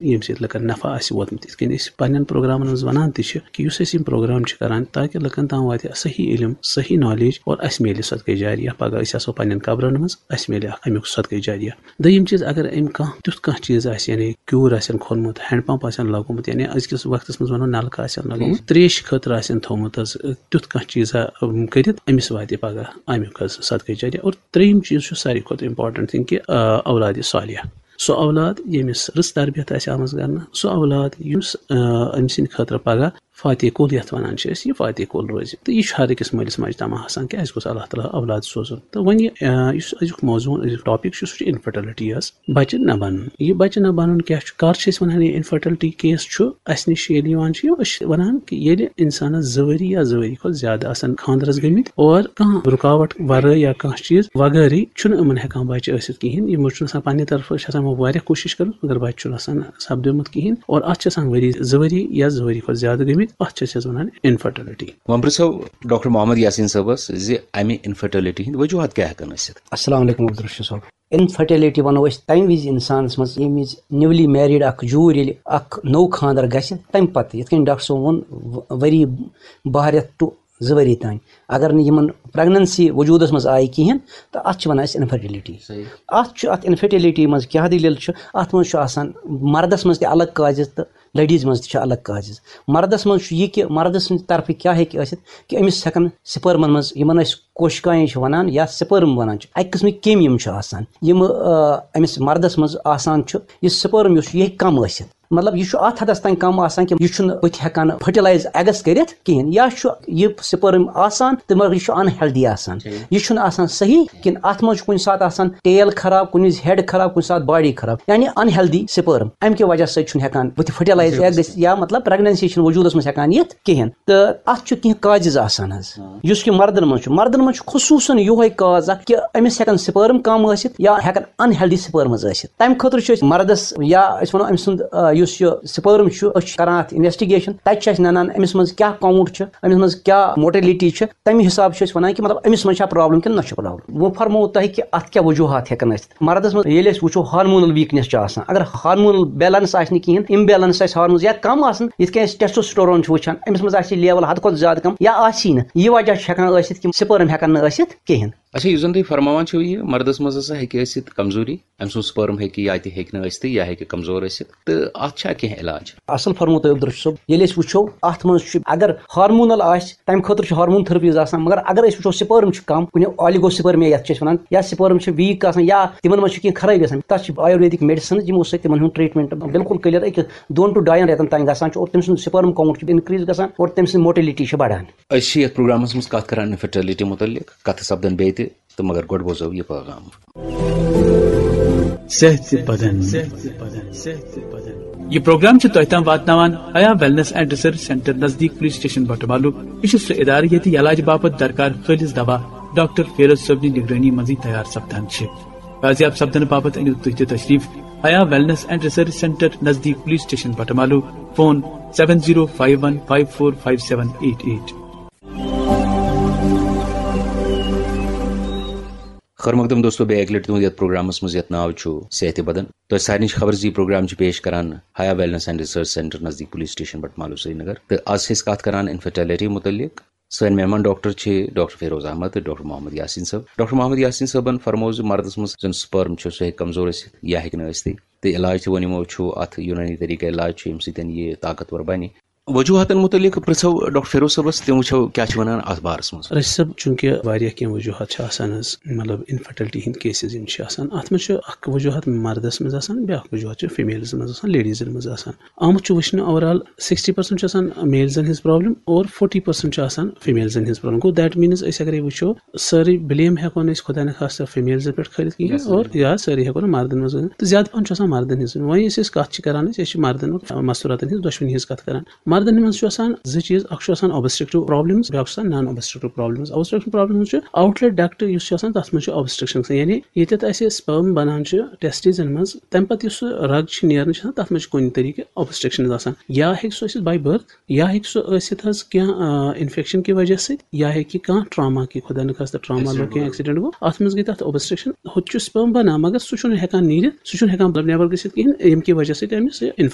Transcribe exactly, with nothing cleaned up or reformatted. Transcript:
ییٚمہِ سۭتۍ لُکن نفع آسہِ ووتمُت۔ یِتھ کٔنۍ أسۍ پننٮ۪ن پروگرامن منٛز ونان تہِ چھِ کہِ یُس أسۍ یِم پروگرام چھِ کران تاکہِ لُکن تام واتہِ صحیح علم، صحیح نالیج اور اسہِ میلہِ صدقے جاریہ۔ پگاہ أسۍ آسو پننٮ۪ن قبرن منٛز، اسہِ میلہِ اکھ امیُک صدقے جاریہ۔ دوٚیِم چیٖز، اگر أمۍ کانٛہہ تیُتھ کانٛہہ چیٖز آسہِ، یعنی کیوٗر آسن کھوٚنمُت، ہینڈ پمپ آسن لگومُت، یعنی أزکِس وقتس منٛز ونو نلکہٕ آسن لگومُت، تریش خٲطرٕ آسن تھوٚومُت حظ، تیُتھ کانٛہہ چیٖزا، أم، کٔرِتھ، أمِس واتہِ پگاہ امیُک حظ صدقے جاریہ۔ اور ترٛیٚیِم چیٖز چھُ ساروی کھۄتہٕ امپورٹنٹ تھنگ کہِ، آ، اولادِ صالحہ۔ سُہ اولاد ییٚمِس رٕژ تربیت آسہِ آمٕژ کرنہٕ، سُہ اولاد یُس، آ، أمۍ سٕنٛدِ خٲطرٕ پگاہ فاتح کُل یتھ ونان چھِ أسۍ، یہِ فاتح کُل روزِ۔ تہٕ یہِ چھُ ہر أکِس مٲلِس ماجہِ طمع آسان کہِ اَسہِ گوٚژھ اللہ تعالیٰ اولاد سوزُن۔ تہٕ وۄنۍ یہِ، آ، یُس أزیُک موضوع، أزیُک ٹاپک چھُ، سُہ چھُ انفرٹیلٹی حظ، بچہِ نہ بنُن۔ یہِ بچہِ نہ بنُن کیٛاہ چھُ؟ کر چھِ أسۍ ونان یہِ انفرٹیلٹی کیس چھُ اَسہِ نِش ییٚلہِ یِوان چھُ، أسۍ چھِ ونان کہِ ییٚلہِ انسانس زٕ ؤری یا زٕ ؤری کھۄتہٕ زیادٕ آسن خانٛدرس گٔمٕتۍ اور کانٛہہ رُکاوٹ ورٲے یا کانٛہہ چیٖز وغٲرٕے چھُنہٕ یِمن ہٮ۪کان بچہِ ٲسِتھ کِہیٖنۍ۔ یِمو چھُنہٕ آسان پننہِ طرفہٕ، چھِ آسان یِمو واریاہ کوٗشِش کٔرمٕژ، مگر بچہِ چھُنہٕ آسان سپدیومُت کِہیٖنۍ۔ اور اتھ چھِ آسان ؤری، زٕ ؤری یا زٕ ؤری کھۄتہٕ زیادٕ گٔمٕتۍ، اتھ چھِ أسۍ حظ ونان انفرٹیلٹی۔ وۄنۍ پرٛژھو ڈاکٹر محمد یاسین صٲبس زِ امہِ انفرٹیلٹی ہٕنٛدۍ وجوہات کیٛاہ ہٮ۪کن ٲسِتھ؟ السلام علیکم عبدالرشید صٲب۔ انفرٹیلٹی ونو أسۍ تمہِ وِزِ انسانس منٛز، ییٚمہِ وِزِ نیولی میریڈ اکھ جوٗر ییٚلہِ اکھ نوٚو خانٛدر گژھِ، تمہِ پتہٕ، یِتھ کٔنۍ ڈاکٹر صٲب ووٚن، و-، ؤری باہ رٮ۪تھ ٹُو زٕ ؤری تام، اگر نہٕ یِمن پریگننسی وجوٗدس منٛز آیہِ کِہیٖنۍ، تہٕ اتھ چھِ ونان أسۍ انفرٹیلٹی۔ صحیح۔ اتھ چھُ، اتھ انفرٹیلٹی منٛز کیٛاہ دٔلیٖل چھُ؟ اتھ منٛز چھُ آسان، مردس منٛز تہِ الگ کازز تہٕ لیڈیز منٛز تہِ چھِ الگ کازز۔ مردس منٛز چھُ یہِ کہِ مردٕ سٕنٛدِ طرفہٕ کیٛاہ ہیٚکہِ ٲسِتھ کہِ أمِس ہٮ۪کن سپرمن منٛز، یِمن أسۍ کوشکایہِ چھِ ونان یا سپرم ونان چھِ، اکہِ قٕسمٕکۍ کیٚمۍ یِم چھِ آسان، یِم، آ، أمِس مردس منٛز آسان چھُ، یہِ سپرم یُس چھُ، یہِ ہیٚکہِ کم ٲسِتھ۔ مطلب، یہِ چھُ اتھ حدس تام کم آسان کہِ یہِ چھُنہٕ بُتھِ ہٮ۪کان فرٹیلایز ایگس کٔرِتھ کِہیٖنۍ، یا چھُ یہِ سپرم آسان تہٕ مگر یہِ چھُ ان ہیلدی آسان۔ ٹھیٖک۔ یہِ چھُنہٕ آسان صحیح کِہیٖنۍ۔ اتھ منٛز چھُ کُنہِ ساتہٕ آسان ٹیل خراب، کُنہِ وِزِ ہیڈ خراب، کُنہِ ساتہٕ باڈی خراب، یعنی ان ہیلدی سپرم۔ امہِ کہِ وجہ سۭتۍ چھُنہٕ ہیٚکان بُتھِ فرٹیلایز ایگ گٔژھِتھ یا مطلب پریگننسی چھُنہٕ وجوٗدس منٛز ہٮ۪کان یِتھ کِہیٖنۍ۔ تہٕ اتھ چھُ کینٛہہ کازز آسان حظ، ہاں۔ یُس کہِ مردن منٛز چھُ، مردن منٛز چھُ خصوٗصن یِہوے کاز اکھ کہِ أمِس ہٮ۪کن سپرم کم ٲسِتھ یا ہٮ۪کن ان ہیلدی سپرمز ٲسِتھ۔ تمہِ خٲطرٕ چھِ أسۍ مردس یا أسۍ ونو أمۍ سُنٛد، آ، یُس یہِ سپرم چھُ، أسۍ چھِ کران اتھ انویسٹیگیشن، تتہِ چھِ اَسہِ ننان أمِس منٛز کیٛاہ کاؤنٹ چھُ، أمِس منٛز کیٛاہ موٹیلٹی چھِ، تمہِ حساب چھِ أسۍ ونان کہِ مطلب أمِس منٛز چھا پرابلم کِنہٕ نہ چھِ پرابلم۔ وۄنۍ فرموو تۄہہِ کہِ اتھ کیٛاہ وجوہات ہٮ۪کن ٲسِتھ۔ مردس منٛز ییٚلہِ أسۍ وٕچھو ہارمونل ویٖکنیس چھِ آسان، اگر ہارمونل بیلنس آسہِ نہٕ کِہیٖنۍ، امبیلنس آسہِ ہارمونز یا کم آسان، یِتھ کٔنۍ أسۍ ٹیسٹوسٹیرون چھِ وٕچھان، أمِس منٛز آسہِ لیول حد کھۄتہٕ زیادٕ کم یا آسی نہٕ، یہِ وجہ چھُ ہٮ۪کان ٲسِتھ کہِ سپرم ہٮ۪کن نہٕ ٲسِتھ کِہیٖنۍ۔ اچھا، یُس زن تُہۍ فرماوان چھِو، یہِ مردس منٛز ہسا ہیٚکہِ ٲسِتھ کمزوری، أمۍ سُنٛد سپرم ہیٚکہِ یا تہِ ہیٚکہِ نہٕ ٲسِتھٕے یا ہیٚکہِ کمزور ٲسِتھ، تہٕ اتھ چھا کینٛہہ علاج؟ اصل فرموو تۄہہِ عبدالرشید صٲب، ییٚلہِ أسۍ وٕچھو اتھ منٛز چھُ اگر ہارمونل آسہِ، تمہِ خٲطرٕ چھِ ہارمون تھراپیز آسان، مگر اگر أسۍ وٕچھو سپرم چھُ کم، کُنہِ آلیگو سپرمیا یتھ چھِ أسۍ ونان، یا سپرم چھِ ویٖک آسان یا تِمن منٛز چھُ کینٛہہ خرٲبی آسان، تتھ چھِ آیُرویدک میڈیسنز یِمو سۭتۍ تِمن ہُنٛد ٹریٹمنٹ بالکل کلیر أکِس دۄن ٹو ڈاین رٮ۪تن تام گژھان چھُ اور تٔمۍ سُنٛد سپرم کاؤنٹ چھُ انکریز گژھان اور تٔمۍ سٕنٛز موٹیلٹی چھِ بڑان۔ أسۍ چھِ یتھ پروگرامس منٛز کتھ کران انفرٹیلٹی متعلق، کتھٕ سپدن بیٚیہِ تہِ، تہٕ مگر گۄڈٕ بوزو یہِ پیغام۔ صحت بدن۔ یہ پروگرام چھُ تۄہہِ تام واتناوان حیا ویلنس اینڈ ریسرچ سینٹر نزدیک پولیس اسٹیشن بٹمالو۔ یہِ چھُ سُہ ادارٕ ییٚتہِ علاج باپتھ درکار خٲلص دوا ڈاکٹر فیروز صٲبنہِ نگرٲنی منٛزٕے تیار سپدان چھِ۔ بازیاب سپدنہٕ باپتھ أنِو تُہۍ تہِ تشریف Haya wellness and research centre نزدیک police station Batamaloo. Phone seven zero five one five four five seven eight eight. خٲر مقدم دوستو، بیٚیہِ اَکہِ لَٹہِ تُہُنٛد یَتھ پروگرامَس منٛز یَتھ ناو چھُ صحتِ بدن۔ تۄہہِ سارنٕے چھِ خبر زِ یہِ پروگرام چھُ پیش کران حیا ویلنس اینڈ ریسرچ سینٹر نزدیٖک پولیس سٹیشن بٹمالو سرینگر۔ تہٕ آز چھِ أسۍ کَتھ کران انفرٹیلٹی مُتعلِق۔ سٲنۍ مہمان ڈاکٹر چھِ ڈاکٹر فیروز احمد تہٕ ڈاکٹر محمد یاسین صٲب۔ ڈاکٹر محمد یاسین صٲبن فرموو زِ مردَس منٛز زَن سپرم چھُ، سُہ ہیٚکہِ کمزور ٲسِتھ یا ہیٚکہِ نہٕ ٲسِتھٕے۔ تہٕ علاج تہِ ووٚن یِمو چھُ اَتھ یوٗنٲنی طریٖقہٕ علاج چھُ، ییٚمہِ سۭتۍ یہِ طاقتور بَنہِ۔ وجوہاتن متعلق پرژھو ڈاکٹر فیروز صٲبس، تِم وٕچھو کیٛاہ چھِ ونان اتھ بارس منٛز۔ رشید صٲب، چونکہ واریاہ کینٛہہ وجوہات چھِ آسان حظ، مطلب انفرٹیلٹی ہٕنٛدۍ کیسز یِم چھِ آسان، اتھ منٛز چھُ اکھ وجوہات مردس منٛز آسان، بیٛاکھ وجوہات چھُ فیمیلز منٛز آسان، لیڈیزن منٛز آسان۔ آمُت چھُ وٕچھنہٕ اوور آل سکسٹی پرسنٹ چھُ آسان میلزن ہٕنٛز پرابلم اور فورٹی پرسنٹ چھُ آسان فیمیلزن ہٕنٛز پرابلم۔ گوٚو، دیٹ مینز أسۍ اگرے وٕچھو، سٲرٕے بلیم ہٮ۪کو نہٕ أسۍ خدا نخواستہ فیمیلزن پٮ۪ٹھ کھٲلِتھ کِہیٖنۍ، یا سٲری۔ اور یا سٲری ہٮ۪کو نہٕ مردن منٛز کھٲلِتھ۔ تہٕ زیادٕ پہن چھُ آسان مردن ہٕنٛز۔ وۄنۍ یُس أسۍ کتھ چھِ کران، أسۍ، أسۍ چھِ مردن اور مستوراتن ہٕنٛز دۄشوٕنی ہٕنٛز کتھ کران۔ مردن منٛز چھُ آسان زٕ چیٖز، اکھ چھُ آسان اوبسٹرکٹیو پرابلمز، بیٛاکھ چھُ آسان نان اوبسٹرکٹیو پرابلمز۔ اوبسٹرکشن پرابلمز چھُ آوٹلیٹ ڈکٹ یُس چھُ آسان، تتھ منٛز چھُ اوبسٹرکشن گژھان، یعنی ییٚتٮ۪تھ اسہِ سپرم بنان چھُ ٹیسٹیزن منٛز، تمہِ پتہٕ یُس سُہ رگ چھُ نیران چھُ آسان، تتھ منٛز چھُ کُنہِ طریقہٕ اوبسٹرکشن آسان۔ یا ہیٚکہِ سُہ ٲسِتھ باے بٔرتھ، یا ہیٚکہِ سُہ ٲسِتھ حظ کینٛہہ، آ، انفیکشن کہِ وجہ سۭتۍ، یا ہیٚکہِ کانٛہہ ٹراما کہِ، خدا نخواستہ ٹراما لوٚگ، کینٛہہ ایکسیڈنٹ گوٚو، اتھ منٛز گٔے تتھ اوبسٹرکشن، ہُتہِ چھُ سپرم بنان، مگر سُہ چھُنہٕ ہٮ۪کان نیٖرِتھ، سُہ چھُنہٕ ہٮ۪کان مطلب نٮ۪بر گٔژھِتھ کِہیٖنۍ، ییٚمہِ کہِ وجہ سۭتۍ أمِس یہِ